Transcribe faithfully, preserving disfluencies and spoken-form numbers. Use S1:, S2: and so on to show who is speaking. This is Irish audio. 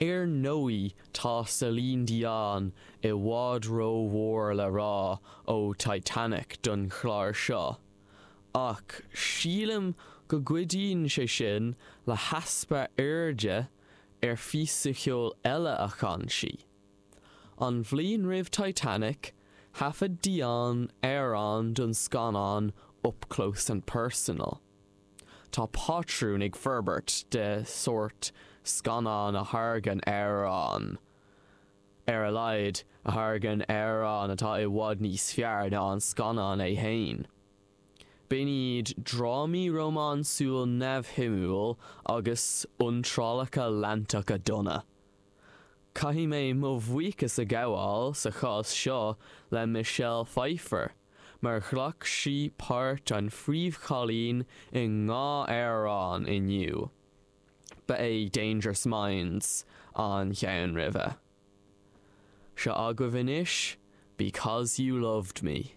S1: Ar ndóigh tá Celine Dion i bhfad rómhór le rá ó Titanic don chlár seo. Ach sílim go gcuidíonn sé sin le heaspa airde ar phíosa ceoil eile a chan sí. An bhliain roimh Titanic, thaifead Dion amhrán don scannán Up Close and Personal. Tá patrún ag forbairt de sórt scannán a thairgeann amhrán. Ar a laghad a thairgeann amhrán atá i bhfad níos fearr ná an scannán é féin. B'in iad drámaí rómánsúil neamhshuimiúil agus iontrálacha leantacha dona. Caithfidh mé mo bhuíochas a ghabháil sa chás seo le Michelle Pfeiffer, mar ghlac sí páirt an phríomhchailín i ndhá amhrán inniu. Ba é Dangerous Minds an ceann roimhe. Seo agaibh anois, Because You Loved Me.